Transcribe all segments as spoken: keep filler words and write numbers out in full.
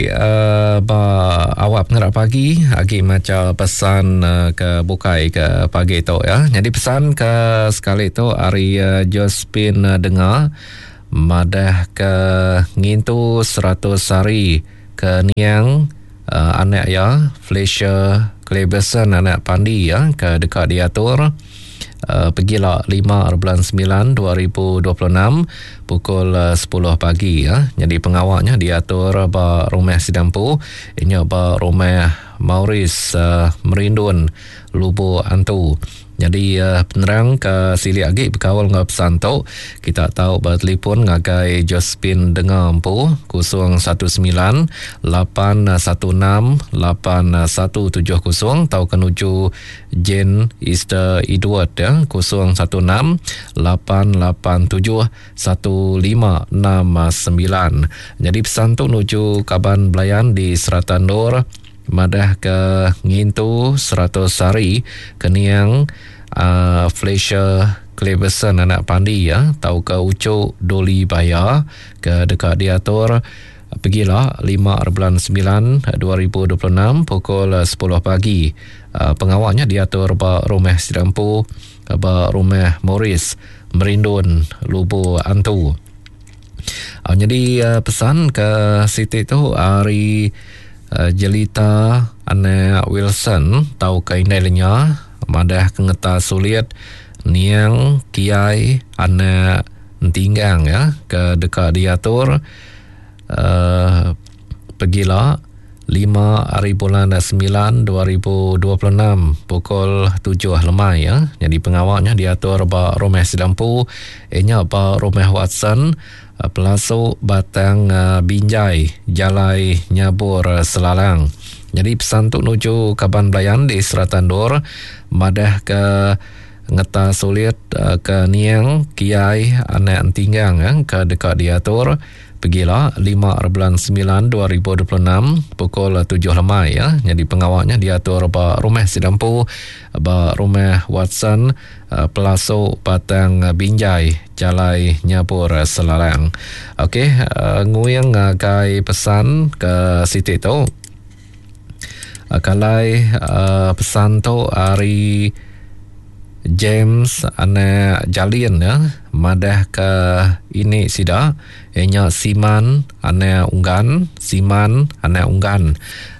uh, ba awak pengerak pagi agi maca pesan uh, ke bukai ke pagi tu ya. Jadi pesan ke sekali tu ari uh, Josephine uh, Dengar madah ke ngintu seratus hari ke niang uh, anak ya Fletcher Cleverson anak Pandi ya ke dekat diatur Uh, pergilah lima bulan sembilan dua ribu dua puluh enam pukul uh, sepuluh pagi ya. Jadi pengawalnya diatur ba rumah Sidampu, inya ba rumah Maurice uh, Merindun Lubuk Antu. Jadi uh, penerang ke silik agi berkawal dengan pesan tu kita tahu bertelefon ngagai Josephine Dengar empu kosong satu sembilan lapan satu enam lapan satu tujuh kosong atau kenuju Jane Easter Edward ya kosong satu enam lapan lapan tujuh satu lima enam sembilan. Jadi pesan tu nuju kaban belayan di Seratan Nur madah ke ngintu seratus hari keniang uh, Fletcher Cleverson anak Pandi ya tau ke Ucuk Doli Baya ke dekat diatur pergilah lima bulan sembilan dua ribu dua puluh enam pukul sepuluh pagi. Uh, pengawalnya diatur ba rumah Sidampu ba rumah Maurice Merindun Lubuk Antu. Uh, jadi uh, pesan ke Siti tu hari Uh, Jelita anak Wilson tau ke indai lenya madah ke ngeta sulit niang kiai anak entinggang ya ke dekat diatur uh, pergilah lima hari bulan sembilan dua ribu dua puluh enam pukul tujuh lemai ya. Jadi pengawalnya diatur ba rumah Sidampu inya ba rumah Watson Pelasuk Batang Binjai Jalai Nyabur Selalang. Jadi pesan tu nuju kaban belayan di Seratan Dor madah ke ngeta sulit ke niang kiai anak entinggang ya, ke dekat diatur pergilah lima bulan sembilan dua ribu dua puluh enam pukul tujuh lemai ya. Jadi pengawalnya diatur ba rumah Sidampu ba rumah Watson Pelasuk Batang Binjai Jalai Nyabur Selalang. Okey, nguyang ngagai pesan ke Siti tu. Kalai pesan tu hari James anak Jalin ya madah ke ini sida ianya Siman anak Unggan Siman anak Unggan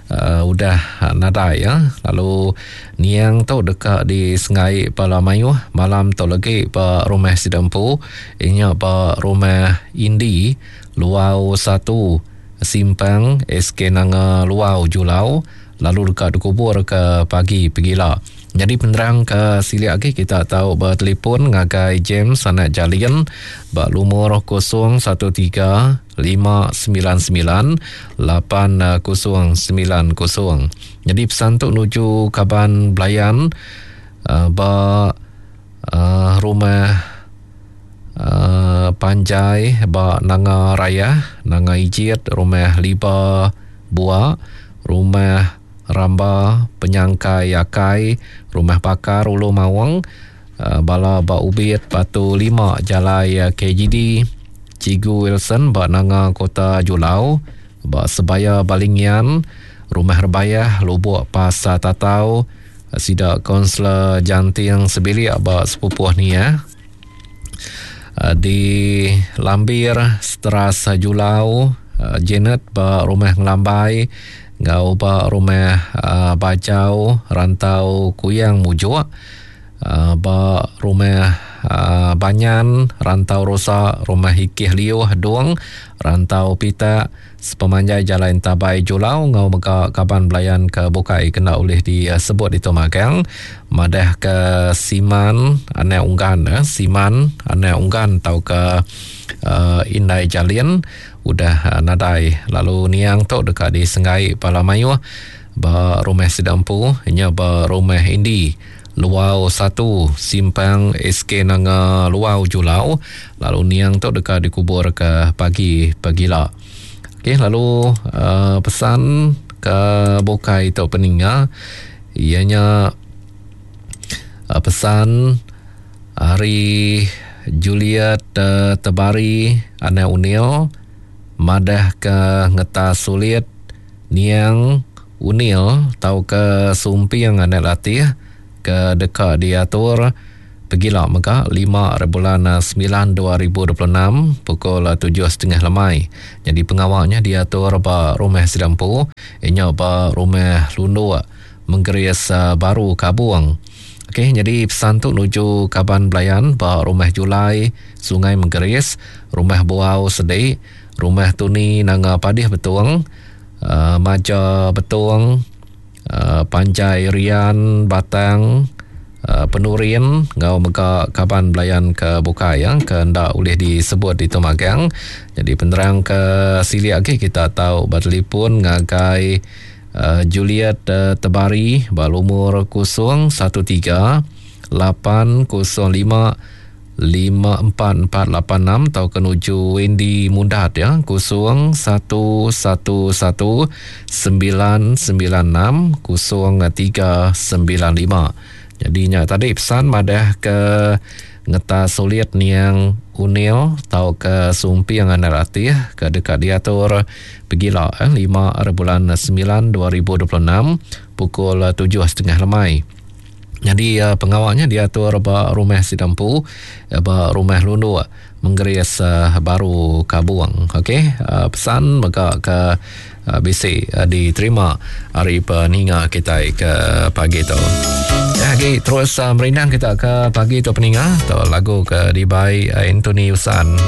uh, udah nadai ya. Lalu niang tu dekat di Sengai Pala Mayuh malam tu lagi ba rumah Sidampu ianya ba rumah Indi Luau satu Simpang S K Nanga Luau Julau lalu dekat dikubur ke pagi pegila. Jadi penerang ke silik lagi kita tahu bertelefon ngagai James anak Jalin bak lumur kosong satu tiga lima sembilan sembilan lapan kosong sembilan kosong. Jadi pesan tu nuju kaban belayan uh, ba uh, rumah uh, Panjai ba Nanga Raya, Nanga Ijit, rumah Liba Bua, rumah Ramba, Penyangkai Akai, Rumah Pakar Ulu Mawang, Bala Ba Ubit, Batu Lima, Jalai K G D, Cigu Wilson, Ba Nanga Kota Julau, Ba Sebaya Balingian, Rumah Rebayah, Lubuk Pasar Tatau, Sidak Konselor Janting Sebilik, Ba Sepupuh ni ya. Di Lambir, Seteras Julau, Janet, Ba Rumah Ngelambai, ngau ba rumah uh, Bajau Rantau Kuyang Mujuk, uh, ba rumah uh, Banyan Rantau Rosa, rumah Hikih Liuh Dong Rantau Pita sepemanjai Jalan Tabai Julau ngau mega kaban belayan ke bukai kena oleh disebut itu magang madah ke Siman anak Unggan eh? Siman anak Unggan tau ke uh, Indai Jalin udah nadai. Lalu niang tu dekat di Sengai Pala Mayuh ba rumah Sidampu nya ba rumah Indi Luau satu Simpang S K Nanga Luau Julau. Lalu niang tu dekat dikubur ke pagi pagila. Okey, lalu uh, pesan ke bukai tu peninga ianya uh, pesan hari Juliet uh, Tebari anak Unil madah ke ngeta sulit Niang Unil tauka Sumping Anak Latih ke deka diatur pegila mega lima bulan semilan dua ribu dua puluh enam pukul tujuh setengah lemai. Jadi pengawalnya diatur ba rumah Sidampu, inya ba rumah Lunduk Menggeris Baru Kabung. Okey, jadi pesan tu nuju kaban belayan ba rumah Julai Sungai Menggeris, rumah Buau Sedik, rumah Tuni Nanga Padih Betung, uh, Maja Betung, uh, Panjai Rian Batang, Uh, Penurin ngau mega kaban belayan ke bukai yang ke ndak boleh disebut di Tumagang. Jadi penerang ke silik lagi kita tahu bertelefon ngagai uh, Juliet uh, Tebari ba lumur kosong satu tiga lapan kosong lima lima empat empat lapan enam atau ke nuju Wendy Mundat ya kosong satu satu satu sembilan sembilan enam kosong tiga sembilan lima. Jadinya tadi pesan madah ke ngeta sulit niang Unil tau ke Sumping Anak Latih ke dekat diatur pegila eh, lima bulan sembilan dua ribu dua puluh enam pukul tujuh setengah lemai. Jadi uh, pengawalnya diatur ba rumah Sidampu, ba rumah Lunduk Menggeris uh, Baru Kabuang. Okey, uh, pesan mega ke uh, bisi uh, diterima hari peninga kita ke pagi tu. Ya, okay, terus uh, merindang kita ke pagi tu peninga tu lagu ke dibai uh, Anthony Usan.